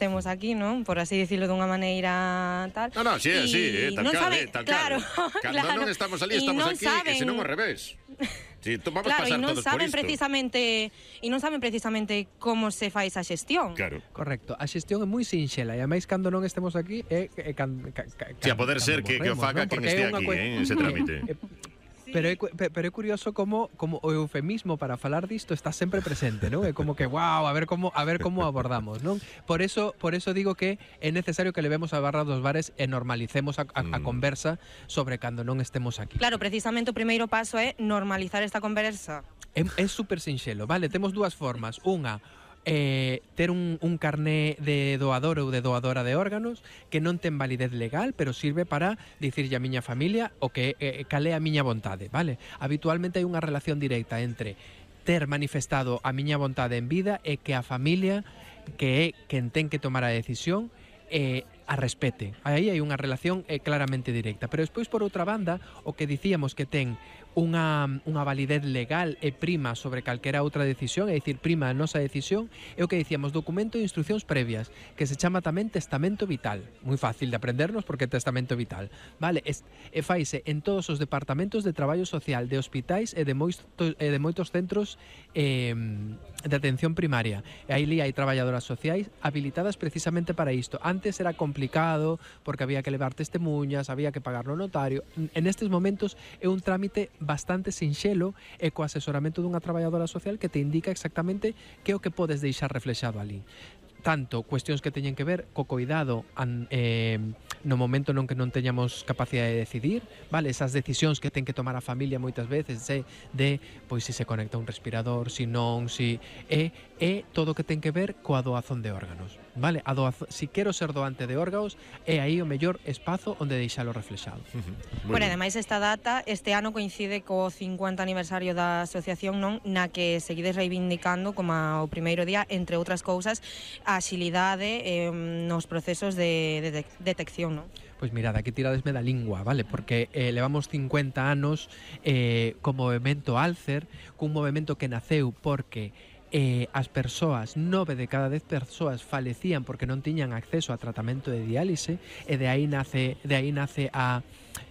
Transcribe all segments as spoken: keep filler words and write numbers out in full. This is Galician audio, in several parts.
temos aquí, non? Por así dicirlo dunha maneira tal. No, no, sí, y sí, eh, tal non cal, sabe, eh, tal claro, cal. Cando claro. non estamos ali, Y estamos non aquí, saben, e se non ao revés. Sí, vamos claro, pasar e non todos por saben isto. precisamente e non saben precisamente como se fai esa xestión. Claro. Correcto, a xestión é moi sinxela e a máis cando non estemos aquí é, é can, ca, ca, Si, a poder ser que, que o faga quen este aquí, eh, ese trámite. Pero é, pero é curioso como como o eufemismo para falar disto está sempre presente, non? É como que, wow, a ver como a ver como abordamos, non? Por eso por eso digo que é necesario que levemos a barra dos bares e normalicemos a, a, a conversa sobre cando non estemos aquí. Claro, precisamente o primeiro paso é normalizar esta conversa. É, é super sinxelo, vale? Temos dúas formas. Unha, Eh, ter un, un carné de doador ou de doadora de órganos que non ten validez legal, pero sirve para dicirlle a miña familia o que eh, cale a miña vontade, vale? Habitualmente hai unha relación directa entre ter manifestado a miña vontade en vida e que a familia, que é quen ten que tomar a decisión, eh, a respete. Aí hai unha relación eh, claramente directa. Pero despois, por outra banda, o que dicíamos que ten unha, unha validez legal e prima sobre calquera outra decisión, é dicir, prima a nosa decisión, é o que dicíamos, documento de instruccións previas, que se chama tamén testamento vital. Moi fácil de aprendernos porque é testamento vital. Vale, es, e faise en todos os departamentos de traballo social, de hospitais e de moitos, e de moitos centros eh, de atención primaria. E aí hai traballadoras sociais habilitadas precisamente para isto. Antes era complicado porque había que levar testemunhas, había que pagar no notario. En estes momentos é un trámite bastante sinxelo e co asesoramento dunha traballadora social que te indica exactamente que é o que podes deixar reflexado ali. Tanto cuestións que teñen que ver co cuidado an, eh, no momento non que non teñamos capacidade de decidir, vale, esas decisións que ten que tomar a familia moitas veces de, de pois se se conecta un respirador, si non, si e, e todo o que ten que ver coa doazón de órganos, vale? A doazón, si quero ser doante de órganos, é aí o mellor espazo onde deixalo reflexado. Uh-huh. Bueno, ademais esta data este ano coincide co cincuenta aniversario da asociación, non, na que seguides reivindicando como o primeiro día, entre outras cousas, a axilidade eh, nos procesos de, de, de detección, non? Pois mirad, aquí tiradesme da lingua, vale? Porque eh, levamos cincuenta anos eh, co movemento Alcer, cun movemento que naceu porque eh, as persoas, nove de cada dez persoas falecían porque non tiñan acceso a tratamento de diálise, e de aí nace, de aí nace a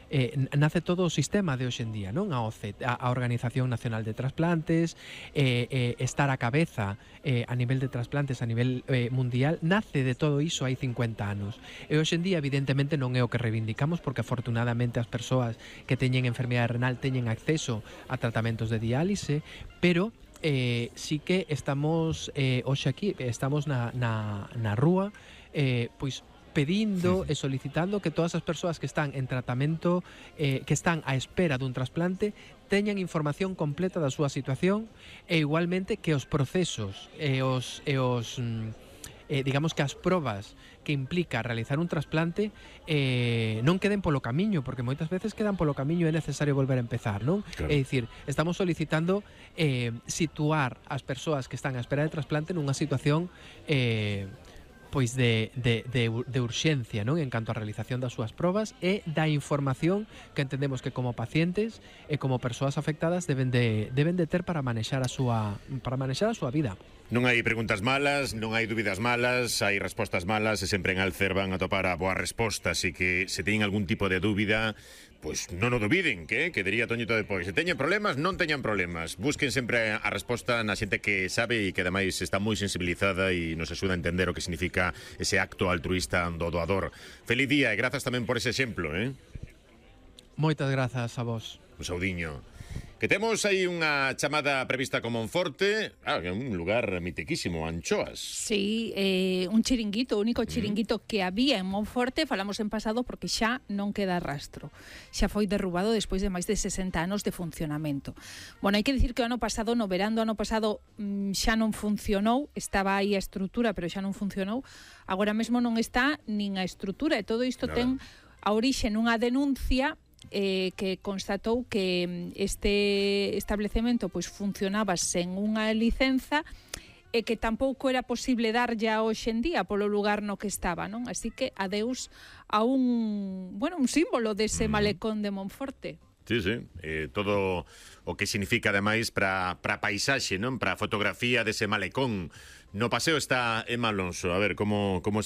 Eh, nace todo o sistema de hoxe en día, non? A O C E, a, a Organización Nacional de Trasplantes, eh, eh, estar a cabeza eh, a nivel de trasplantes a nivel eh, mundial, nace de todo iso hai cincuenta anos. E hoxe en día, evidentemente, non é o que reivindicamos, porque afortunadamente as persoas que teñen enfermidade renal teñen acceso a tratamentos de diálise, pero eh, sí que estamos eh, hoxe aquí, estamos na, na, na rúa, eh, pois pedindo e solicitando que todas as persoas que están en tratamento, eh, que están á espera dun trasplante, teñan información completa da súa situación, e igualmente que os procesos e os, e os eh, digamos que as probas que implica realizar un trasplante eh, non queden polo camiño, porque moitas veces quedan polo camiño e é necesario volver a empezar, non? Claro. É dicir, estamos solicitando eh, situar as persoas que están á espera de trasplante nunha situación eh, pois de, de, de, de urxencia, non? En canto á realización das súas probas e da información que entendemos que como pacientes e como persoas afectadas deben de, deben de ter para manexar a súa para manexar a súa vida. Non hai preguntas malas, non hai dúbidas malas, hai respostas malas, e sempre en Alcer van a topar a boa resposta, así que se teñen algún tipo de dúbida, pois non o dubiden, que, que diría Toñito depois. Se teñen problemas, non teñan problemas. Busquen sempre a resposta na xente que sabe e que ademais está moi sensibilizada e nos axuda a entender o que significa ese acto altruista do doador. Feliz día e grazas tamén por ese exemplo, eh? Moitas grazas a vos. Un saudiño. Que temos aí unha chamada prevista con Monforte, ah, que é un lugar mitiquísimo, Anchoas. Sí, eh, un chiringuito, o único chiringuito mm. que había en Monforte, falamos en pasado porque xa non queda rastro. Xa foi derrubado despois de máis de sesenta anos de funcionamento. Bueno, hai que dicir que o ano pasado, no verán do ano pasado, xa non funcionou, estaba aí a estrutura, pero xa non funcionou. Agora mesmo non está nin a estrutura, e todo isto Nada. ten a orixe nunha denuncia Eh, que constatou que este establecemento pois funcionaba sen unha licenza e que tampouco era posible dar ya hoxe en día polo lugar no que estaba, non? Así que adeus a un, bueno, un símbolo dese mm. malecón de Monforte. Sí, sí, eh, todo o que significa ademais para para paisaxe, non? Para a fotografía dese malecón. No paseo está Emma Alonso. A ver, como como